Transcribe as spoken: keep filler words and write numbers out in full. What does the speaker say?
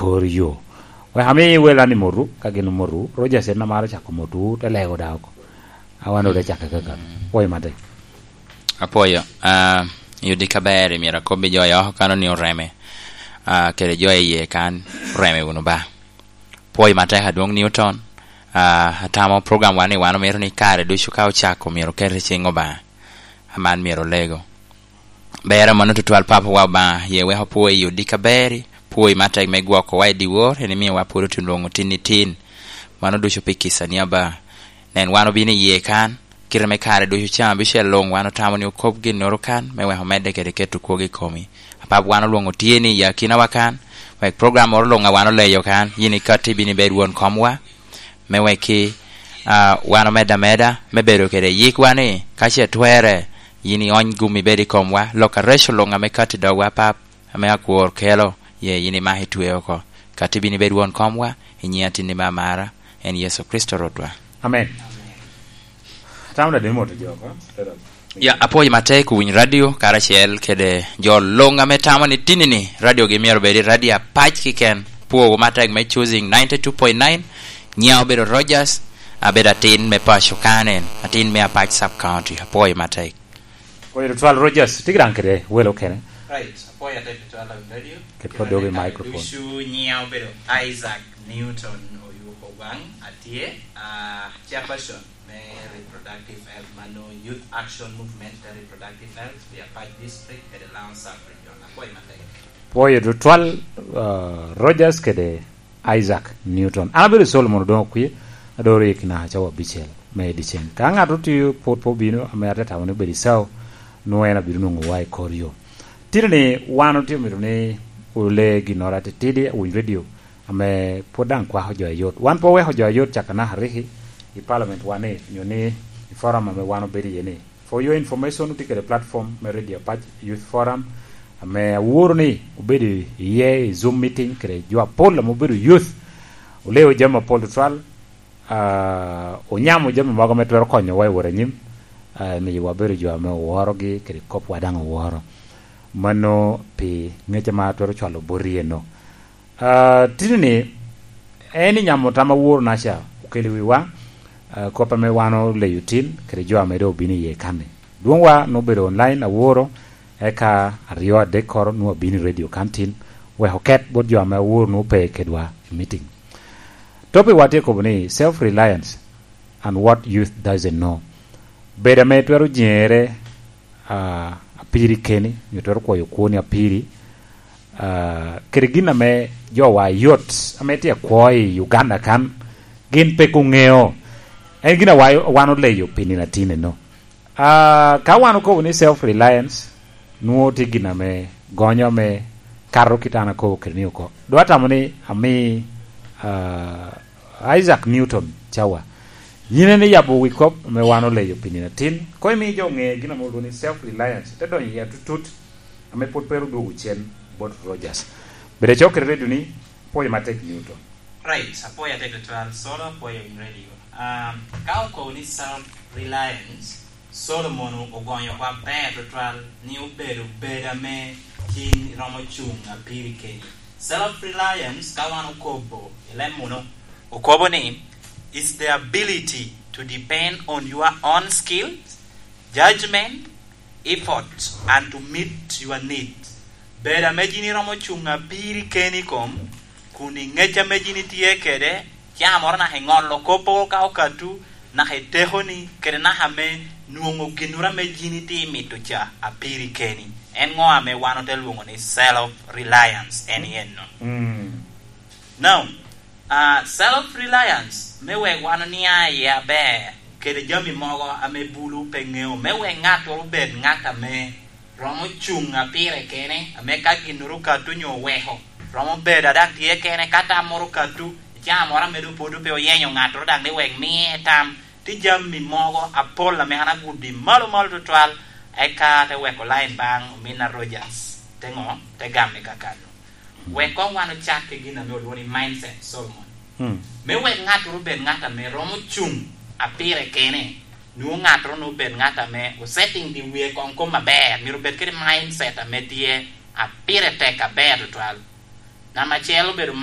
kor yo. Wek ami wel an i motwu, ka gin omotwu, Rogers en amaro cako motwu, te lego daŋ oko. Awan ode cako kakano. Pwoyo matek. Apwoyo. Ah, i odika ber, myero akobbi jo i oko kan ni oreme. Ah, kede jo i yie kan, oreme wunu ba. Pwoyo matek adwoŋ Newton. Ah, atamo program wan ni wan omito ni kare ducu ka ocako myero oket i ciŋ Obaŋa. Aman myero olego. Ber amono tutwal, Papa wa Obaŋa, ye wek opwo i odika beri, pwoyi matek me gwokowa i dyewor, en imiyowa pwod otun lwoŋo tin i tin. Mano ducu pi kica ni aba. Nen, wan obino i yie kan, kite me kare ducu caŋ abicel luŋ, wan otamo ni okob ginnoro kan, me wek omedde kede keto kwogo i komi. Apap, wan olwoŋo tye ni i akinawa kan, wek program moro luŋ a wan oleyo kan, yin ikatti ibino ibed won komwa, me wekki, ah, wan omedde ameda me bedo kede yikwa ni, ka ce twerre, yin iony gum ibed i komwa, lok areco luŋ ame katti dogwa, Pap, ame akwor kelo, ye yin imak itwe oko. Katti ibino ibed won komwa, i nyiŋ atinni me amara, en Yecu Kricito Rwotwa. Amen. Atamo daŋ dini moto jo oko. Ya, apwoyo matek owiny radio, karacel kede jo luŋ ame tamo ni tinni-ni radiogi myero obed i radio apac kiken. Pwowu matek me Choosing ninety-two point nine, nyiŋa obedo Rogers, abedo atin me paco kan en, atin me Apac Sub County. Apwoyo matek. Oyo tutwal Rogers, tye daŋ kede welo okene. Right, apwoyo atek tutwal Lawin Radio. Ket kede kodi dogo i microphone. Ducu, nyiŋa obedo Isaac Newton Oyuko Gwaŋ, atye, ah, chairperson me Reproductive Health, mano Youth Action Movement for Reproductive Health, pi Apac District, kede Laŋo Sub Region. Apwoyo matek. Pwoyo tutwal, ah, Rogers kede Isaac Newton. An abedo Solomon Odongo Okwie, adoro i kina cawa abicel me dyeceŋ. Ka ŋat otye pwod pe obino, ame ate tamo ni obedo i sawo, nwoŋo en abino nwoŋowa i kor yo. Tino ni wan otye mito ni ole ginnoro atitidi, owiny radio, ame pwod daŋ kwako jo ayot. Wan pe oweko jo ayot caka naka riki i parliament wa ni, nyo ni i forum ame wan obedo iye ni. For your information, otye kede platform me Radio Apac Youth Forum, ame aworo ni obedo iye i Zoom meeting kede jo apol ame obedo youth. Oleo jami apol tutwal, ah, onyamo jami mogo ame twero konyowa i wot anyim, ah, miyo wabedo jo ame oworogi kede kopwa daŋ oworo. Mano pi ŋec ame atwero cwalo boti eno. Ah, tini-ni, en i nyamo tam aworo-naca okelo i wiwa, ah, kop ame wan oleyo tin, kede jo ame doŋ obino iye kan-ni. Dwoŋwa nwoŋo obedo online aworo, eka aryo adekkoro nwoŋo abino i radio kan tin, wek oket bot jo ame aworo nwoŋo pe kedwa i meeting. Topic wa tye kobo ni self-reliance and what youth doesn't know. Bedo ame twero jeŋere, ah, apiri keni, nyo twero kwoyo kwoni apiri, ah, kede gin ame jowa yot ame tye akwo i Uganda kan, gin pe oŋeo. En gin a wa-, wan oleyo pi nino atin eno. Ah, ka wan okobo ni self-reliance, nwoŋo tye gin ame gonyo ame kato kit an akobo kede ni oko. Dok atamo ni ami, ah, Isaac Newton cawa. Yin en iyabo wi kop ame wan oleyo pi nino atin. Koŋ imi jo ŋe gin ame olwoŋo ni self-reliance, te donyo iye atutut, ame pwod pe ru dwogo cen bot Rogers. Bed acok kede redio ni, pwoyo matek Newton. Right, apwoyo atek tutwal, Solo, apwoyo in radio. Um, ka okobo ni self-reliance, Solomon ogonyo kwa ber tutwal ni obedo bedo ame tin romo cuŋ apiri keni. Self-reliance, ka wan okobo i leb muno, okobo ni, is the ability to depend on your own skills, judgment, effort, and to meet your need. Bedo ame yin iromo cuŋ apiri keni kom, kun i ŋec ame yin itye kede, ca moro naka iŋolo kop oko ka okatu, naka itekoni, kede naka me nwoŋo ginnoro ame yin itye imito ca apiri keni. En ŋo ame wan ote lwoŋo ni self-reliance? En i enno. Mm. Now, ah, self-reliance, me wek wan onia iye aber, kede jami mogo ame bulu pe ŋeo, me wek ŋattoro obed ŋat ame romo cuŋ apire kene, ame ka ginnoro okato nyo oweko, romo bedo a daŋ tye kene, ka tam moro okato, i caa moro ame doŋ pwod pe oyenyo ŋattoro daŋ ni wek miye tam, tye jami mogo apol ame an aguddi malo malo tutwal, eka te weko lain baŋ ominna Rogers, te ŋo, te gamme kakano. Wek koŋ wan ocak ki gin ame olwoŋo ni mindset, Solomon. Mm. Me wek ŋattoro obed ŋat ame romo cuŋ apire kene, nwoŋo ŋattoro nwoŋo obed ŋat ame osetting di wie koŋ kom aber, myero obed kede mindset ame tye apire tek aber tutwal. Namba acel obedo mindset